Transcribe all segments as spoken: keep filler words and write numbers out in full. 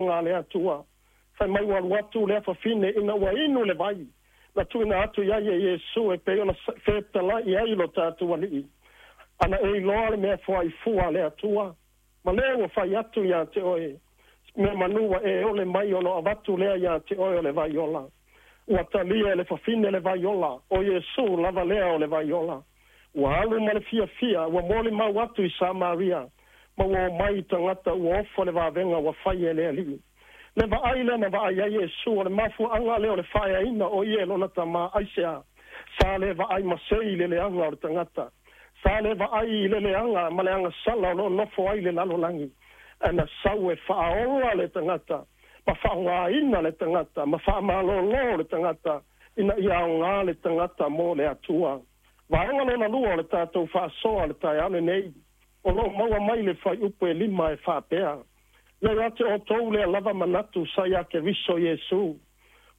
A le Atua fai mai ua alu atu lea fafine ina ua inu le vai na tuuina atu i ai e Iesu e pei ona fetalai ai lo tatou Alii. Ana e iloa le mea foaifua a le Atua, ma lea ua fai atu iā te oe, mea manu ua e ole mai ono avatu lea iā te oe o le vai ola. Ua talia e le fafine le vai ola, o Iesu lava lea o le vai ola. Ua alu ma le fiafia, ua molimau atu i Samaria, ma ua omai tagata ua ofo le vavega ua fai e le Alii. Le vaai lea na vaai ai Iesu o le mafuaaga lea o le faaeaina o ia e lona Tamā. Aisea? Sa le vaai masei i le leaga o le tagata, sa le vaai i le leaga ma le agasala o loo nofo ai le lalolagi, ae na sau e faaola le tagata ma faaaogāina le tagata ma faamalōlō le tagata ina ia aogā le tagata mo le Atua. Vaega lona lua o le tatou faasoa le taeao lenei o loo maua mai le fuaiupu e lima e faapea: Ia ia te outou lea lava manatu sa ia Keriso Iesu.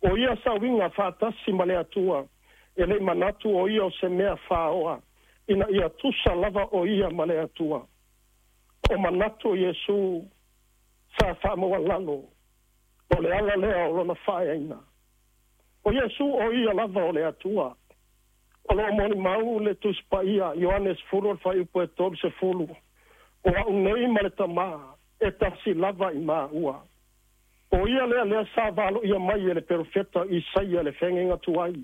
O ia sa uiga faatasi ma le Atua, e lei manatu o ia o se mea faaoa ina ia tusa lava o ia ma le Atua. O manatu o Iesu sa faamaualalo, o le ala lea o lona faaeaina. O Iesu o ia lava o le Atua. O loo molimau le Tusi Paia, Ioane sefulu le fuaiupu e tolusefulu, o au nei ma le Tamā e tasi lava i maua. O ia lea lea sa valoia mai e le perofeta Isaia le feagaiga tuai,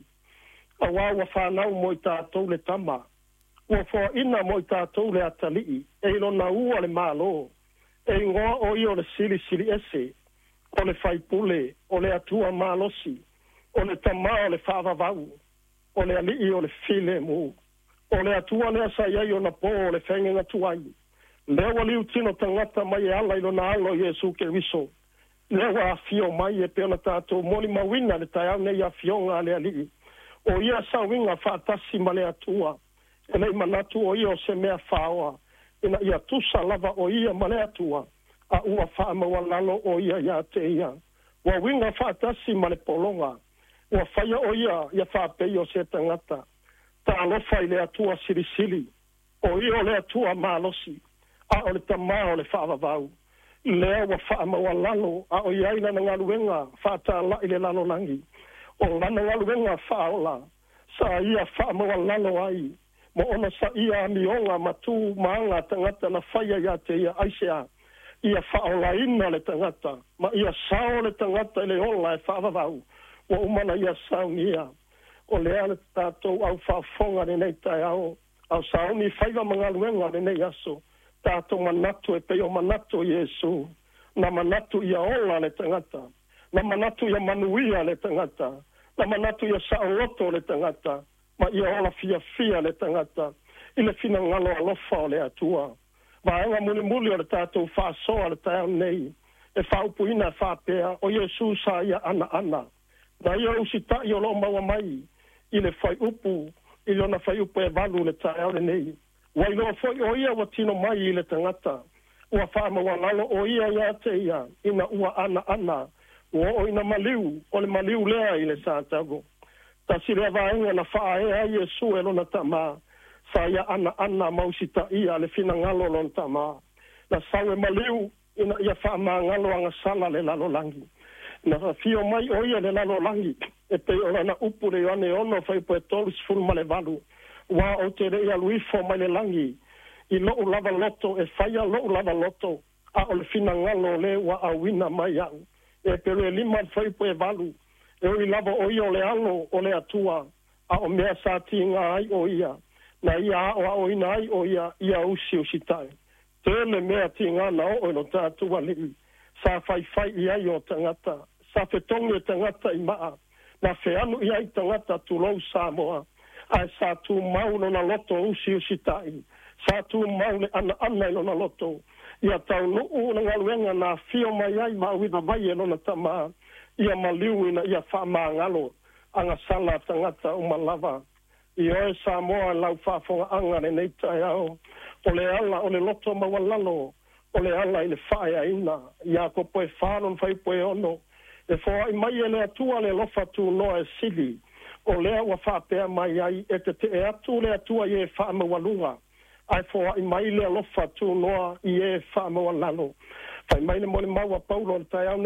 auā ua fanau mo i tatou le tama, ua foaina mo i tatou le atalii, e i lona ua le Malo, e igoa o ia o le Silisili Ese, o le Faipule, o le Atua Malosi, o le Tamā o le Faavavau, o le Alii o le Filemu. O le Atua lea sa i ai ona pō o le feagaiga tuai, lea ua liutino tagata mai e ala i lona Alo Iesu Keriso, lea ua afio mai e pei ona tatou molimauina le taeao nei afioga a le Alii. O ia sauiga faatasi ma le Atua, e lei manatu o ia o se mea faaoa ina ia tusa lava o ia ma le Atua, a ua faamaualalo o ia iā te ia. Ua uiga faatasi ma le pologa, ua faia o ia ia faapei o se tagata. Talofa i le Atua Silisili, o ia o le Atua Malosi, a o le Tamā o le Faavavau, lea ua faamaualalo a o i ai lana galuega faatāla'i le lalolagi. O lana galuega faaola sa ia faamaualalo ai ma ona saia amioga ma tu ma aga tagata na faia iā te ia. Aisea? Ia faaolaina le tagata ma ia sao le tagata i le ola e faavavau ua uma na ia saunia. O lea le tatou au faafofoga lenei taeao ao sauni faiva ma galuega lenei aso, tatou manatu e pei o manatu o Iesu. Na manatu ia ola le tagata, na manatu ia manuia le tagata, na manatu ia saoloto le tagata, ma ia ola fiafia le tagata i le finagalo alofa o le Atua. Vaega mulimuli o le tatou faasoa le taeao nei e faaupuina faapea: o Iesu sa ia anaana na ia usita'i o loo maua mai i le fuaiupu i lona fuaiupu e valu le taeao lenei. Ua iloa foi o ia ua tino mai i le tagata, ua faamaualalo o ia iā te ia ina ua anaana ua oo ina maliu, o le maliu lea i le satalo. Tasi lea vaega na faaea ai Iesu e lona Tamā, sa ia anaana ma usitaia le finagalo o lona Tamā. Na sau e maliu ina ia faamagalo agasala le lalolagi. Na afio mai o ia le lalolagi e pei o lana upu le Ioane ono fuaiupu e tolusefulu ma le valu, ua ou te lei alu ifo mai le lagi i lou lava loto e faia lou lava loto, a o le finagalo o le ua auina mai au. E pelu e lima le fuaiupu e valu, e ui lava o ia o le Alo o le Atua, a o mea sa tiga ai o ia na ia aoaoina ai o ia ia usiusitai. Tele mea tiga na oo i lo tatou Alii sa faifai i ai o tagata, sa fetogi e tagata i maa, na feanu i ai tagata, tulou Samoa, ae sa tumau lona loto usiusitai, sa tumau le anaana i lona loto ia taunuu le galuega na afio mai ai ma auina mai e lona Tamā, ia maliu ina ia faamagalo agasala tagata uma lava. I oe Samoa lau faafogaaga lenei taeao, o le ala o le loto maualalo o le ala i le faaeaina. Iakopo e fa lona fuaiupu e ono, e foai mai e le Atua le alofa tunoa e sili. O lea ua faapea mai ai, e tetee atu le Atua i e faamaualuga, ae foai mai le alofa tunoa i e faamaualalo. Fai mai le molimau a Paulo o le taeao nei.